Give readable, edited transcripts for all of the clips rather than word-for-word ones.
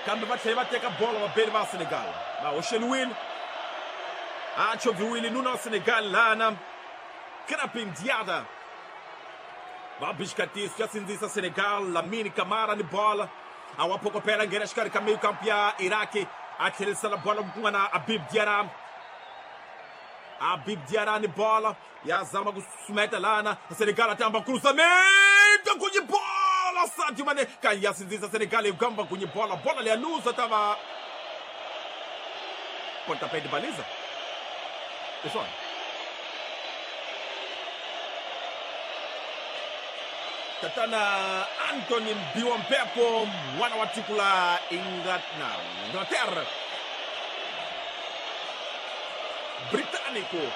Kambe va tlhela va teka bolo vabeli va Senegal. Va hoxeliwile. A chovhiwile nuna wa Senegal lana. Krapin Diada. Va bixikatiso ya sindzisa Senegal, Lamine Camara ni bola. A wa phokopela nghena xikarhi ka meio campo ya Iraki. A tlherisela bola kun'wana Habib Diarra. Habib Diarra ni bola. Ya zama ku susumeta lana. Senegal a tamba cruzamento kunye bola. Sadio Mané kan ya sindzisa Senegal igamba kunye bola. Bola leya luza tava pontapé de baliza. Pessoal. Tatana Anthony Mbiwa-Mpepo mwana wa tiko la Inglaterra. Britânico.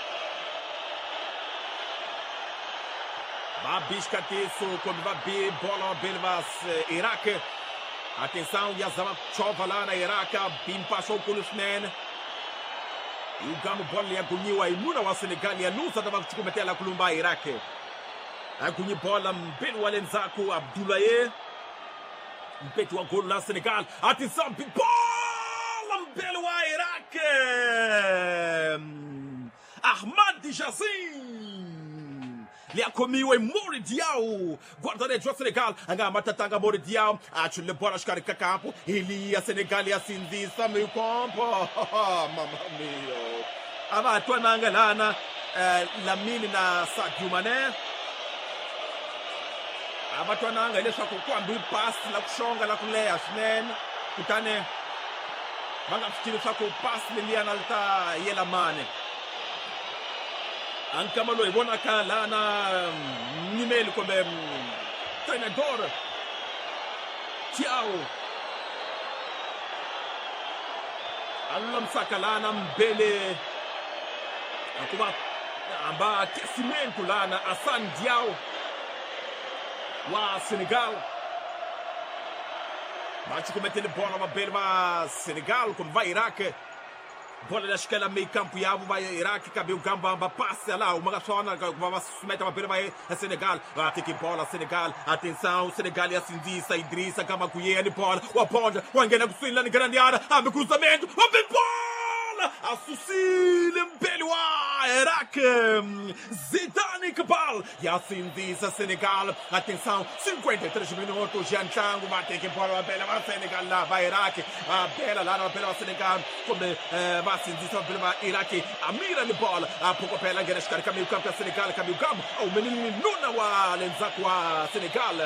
Va biscatiço quando va bi bola belvas Iraque. Atenção, Yazama chova lá na Iraque, bim passou com o Lusnen. E o gamo bola ya gunyiwa inuna wa Senegal ya lusa tava kuchukumetela kulumba Iraque. Agunyi bola mbele wa lenzaku Abdoulaye. Mpeti wa gol la Senegal. Atenção, bola mbele wa Iraque. Ahmad Jassim. Liakomiwe Mori Diaw, guarda-redes wa Senegal, anga matatanga Mori Diaw, achule bola xikarhi ka kampo, iliya Senegal ya sindzisa meio campo. Mamma mia. A va twananga lana Lamine na Sadio Mané. A va twananga leswaku ku hambi pasi la ku xonga la ku leha swinene, kutani va nga swi tivi leswaku pasi leliyana li ta yela mani. Ankama loyi vonaka lana nyimeli kumbe treinador Thiaw a lulamisaka lana mbele hikuva hamba aquecimento lana Assane Diao wa Senegal. Va cukumetele bola vabeli va Senegal kumbe va Iraq. Bola da esquerda meio campo yavo vai Iraque cabelo gamba passe lá uma sona vai susumeta vabeli vai Senegal. Vai ter que bola Senegal. Atenção Senegal ya sindzisa Idrissa Gamaguye ni bola wa ponja wangena kuswini ni grande área abe cruzamento abe bola asusile mbele wa Iraque Zidane Iqbal ya sindzisa Senegal. Atenção 53 minutos já ntlangu va teke bola va bela va Senegal la va Iraque va bela la va bela va Senegal kumbe va sindzisa va bela va Iraque Amira ni bola a phokopela nghena xikarhi ka meio campo ya Senegal ka meio campo au menino nuna wa lendzhaku wa Senegal.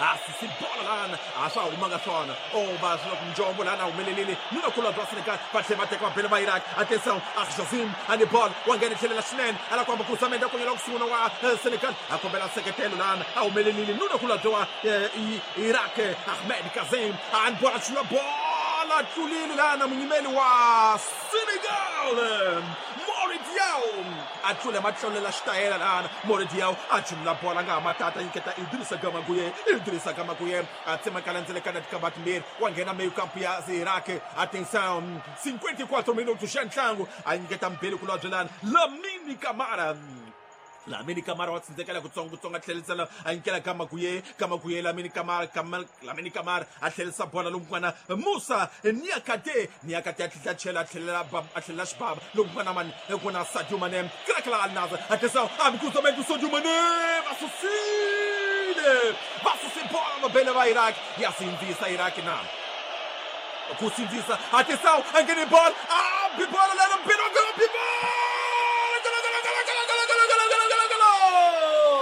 Asisi bola lana a swa humanga swona o va swi njombo lana humelelile nuna kulobye wa Senegal va tlhela va teka va bela va Iraq. Atenção Arjazim ani bola wa nghena tlhelela swinene ala ku hamba cruzamento a konyela ku sungula wa Senegal a kombela seketelo lana a humelelile nuna kulobye wa Iraq Ahmed Kazim ani bola chula bola tlulile lana munyimeli wa Senegal Mori Diaw a tlule matlholela xitayela lana Mori Diaw a chumula bola nga matata nyiketa Idrissa Gamaguye. Idrissa Gamaguye a tsemakala ndzelekana tikamba timbirhi wa nghena meio campo ya Iraq. Atenção 54 minutos xa ntlangu a nyiketa mbeli kulobye lana Lamine Camara. Lamine Camara wa tsindzekela kutsongo a tlhelisela a nyikela Gamaguye. Gamaguye Lamine Camara Lamine Camara a tlhelisa bola lokun'wana Musa Niakate. Niakate a tlhela chela a tlhelela xibaba lokun'wana mani kuna Sadio Mané krakla Al Nassr. Atenção abre cruzamento Sadio Mané va susile va susi bola no bele va Iraq ya sindzisa Iraq na ku sindzisa. Atenção angene bola abre bola